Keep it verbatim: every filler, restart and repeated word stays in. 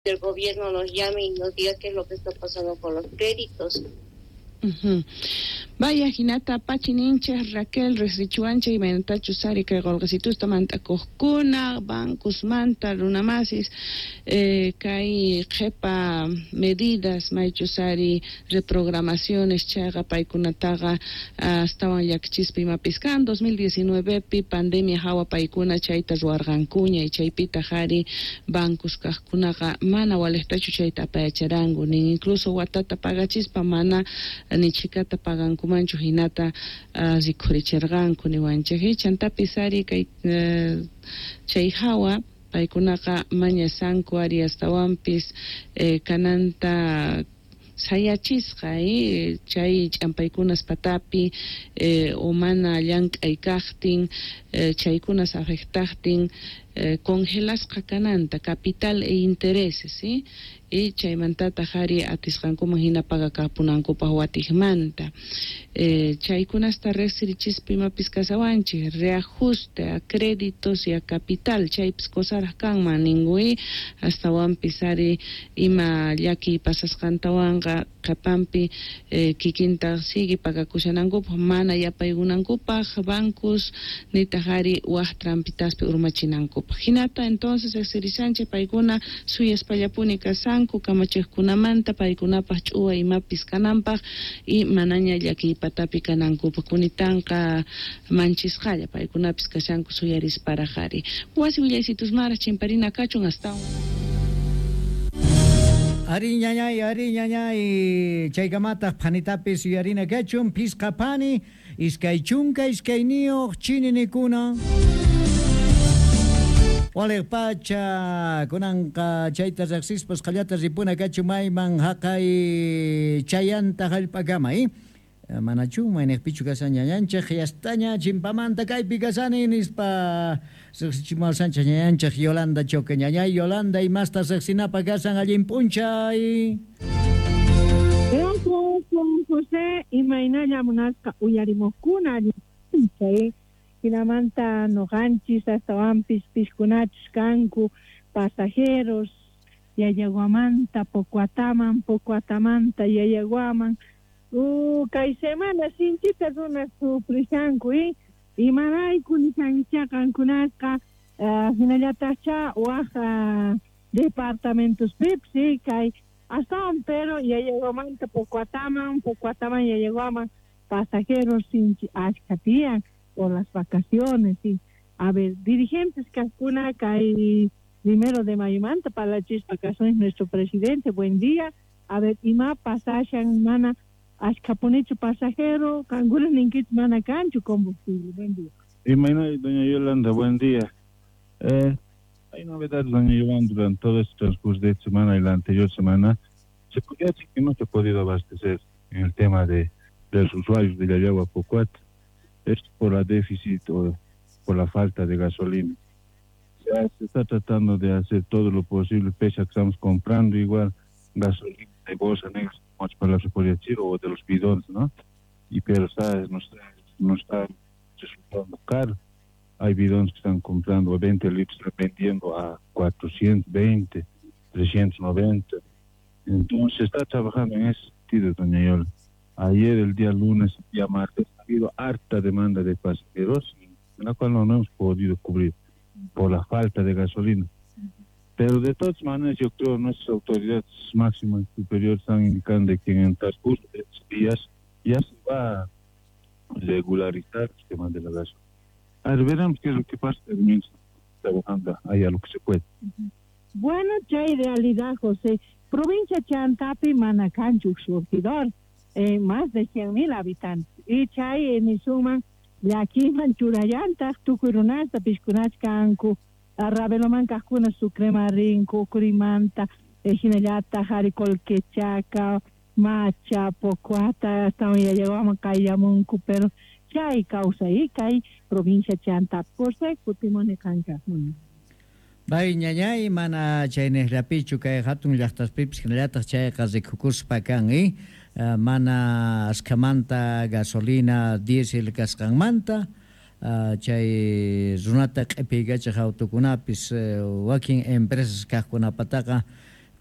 El gobierno nos llame y nos diga qué es lo que está pasando con los créditos. Uh-huh. Vaya hinata pachininchej Raquel riqsichiwanchej imaynatachus ari kay qolqesitusta mant'akuqkuna bancosmanta runamasis eh, kay qhepa medidas maychus ari reprogramaciones chayqa paykunataqa astawan llakichispa imapis kan dos mil diecinueve pi pandemia hawa paykuna chayta ruwarqankuña y chaypitaq ari bancos kaqkunaqa mana waliqtachu chayta apayacharanku nin incluso watata pagachispa mana ni chhikata pagankumanchu hinata uh, rikhurichirqanku niwanchej chantapis ari kay uh, chay hawa paykunaqa mañasanku ari astawanpis eh, kananta sayachisqa eh, chay ch'ampaykunas patapi eh, o mana llank'ay kaqtin eh, chaykunas afectaqtin eh, congelasqa kananta capital e intereses, ¿sí? Y chaymantataq ari atisqankuman hina pagakapunankupaq watiqmanta eh, chaykunasta riqsirichispa imapis kasawanchik reajuste a créditos y a capital chaypis cosaraq kanman ninkuy astawanpis ari ima llakiy pasasqantawanqa qhepanpi eh, kikinta sigue pagakushanankupaq mana yapaykunankupaq bancos nitaq ari waq trampitaspi urmachinankupaq hinata entonces riqsirishanchik paykuna suyaspallapuni kasanku kamachiqkunamanta paykunapaq ch'uwa imapis kananpaq y manaña llakiy patapi kanankupaq kunitanqa manchisqalla paykunapis kashanku suyarisparaq ari wasi willaysitusmaraq chimparina kachun astawan. Ari ñañay, ari ñañay, chaykamataq phanitapis yuyarina kachun, pisqa phani, iskay chunka iskayniyuq chininikuna. Waliq pacha, kunanqa chayta riqsispas qallata ripuna kachun mayman haqay chayanta hallp'akama, eh? Manachu mayniqpichu kashan ñañanchej yastaña chimpamanta kaypi kasani nispa riqsichimuwashanchej ñañanchej Yolanda Choque. Ñañay Yolanda, imasta riqsinapaq kasan allin p'unchay. Gracias, Juan José. Imaynalla munasqa uyarimuqkuna allin p'unchay. Hinamanta noqanchis astawanpis piskunachus kanku pasajeros Yayaguamanta Pocuataman, Pocuatamanta Yayaguaman. Uh, kay semana sinchita runas sufrishanku, eh? Imarayku nishankicha qankunasqa uh, hinallataqcha waq uh, departamentos pipsi kay astawan pero Yayaguamanta Pocuataman, Pocuataman Yayaguaman pasajeros sinchi achka tiyan por las vacaciones, sí. A ver, dirigentes kaqkuna kay primero de mayomanta parlachispa kasunchis nuestro presidente, buen día. A ver, ima pasashan mana achkapunichu pasajero, qankuna ninkichu mana kanchu combustible. Buen día. Imayna, doña Yolanda, buen día. Eh, hay novedades, doña Yolanda, durante todo este transcurso de esta semana y la anterior semana. Se podría decir que no se ha podido abastecer en el tema de, de los usuarios de Llallagua Pocoata. Es por la déficit o por la falta de gasolina. Se, se está tratando de hacer todo lo posible, pese a que estamos comprando igual gasolina de bolsa negra, para se podría decir, o de los bidones, ¿no? Y pero está, no está, no está resultando caro. Hay bidones que están comprando a veinte litros, están vendiendo a cuatrocientos veinte, trescientos noventa. Entonces se está trabajando en ese sentido, doña Yola. Ayer, el día lunes, el día martes, ha habido harta demanda de pasajeros, en la cual no hemos podido cubrir por la falta de gasolina. Pero de todas maneras, yo creo que nuestras autoridades máximas superiores están indicando que en el transcurso de estos días ya se va a regularizar el tema de la gasolina. A ver, veremos qué es lo que pasa, también trabajando ahí a lo que se puede. Bueno, chay realidad, José. Provincia Chantapi, mana kanchu surtidor, eh, más de cien mil habitantes. Y chay eh, nisuman llakiman churayantaq tukuy runasta pishkunach kanku, Raveloman kaqkuna Sucrema rinku, Curimanta, eh, hinallataq ari Colquechaca, Macha, Pocoata, hasta Yayaguaman kayllamunku, pero chay kawsay kay provincia Chantapi. José, kutimuni qanka. Bay ñañay, mana chayniqllapichu kay hatun llaqtaspipis hinallataq chayqa rikukuspa kan, eh? Uh, mana askhamanta gasolina diésel kasqanmanta, uh, chay runata q'ipiykachaq autokunapis, uh, wakin empresas kaqkunapataqa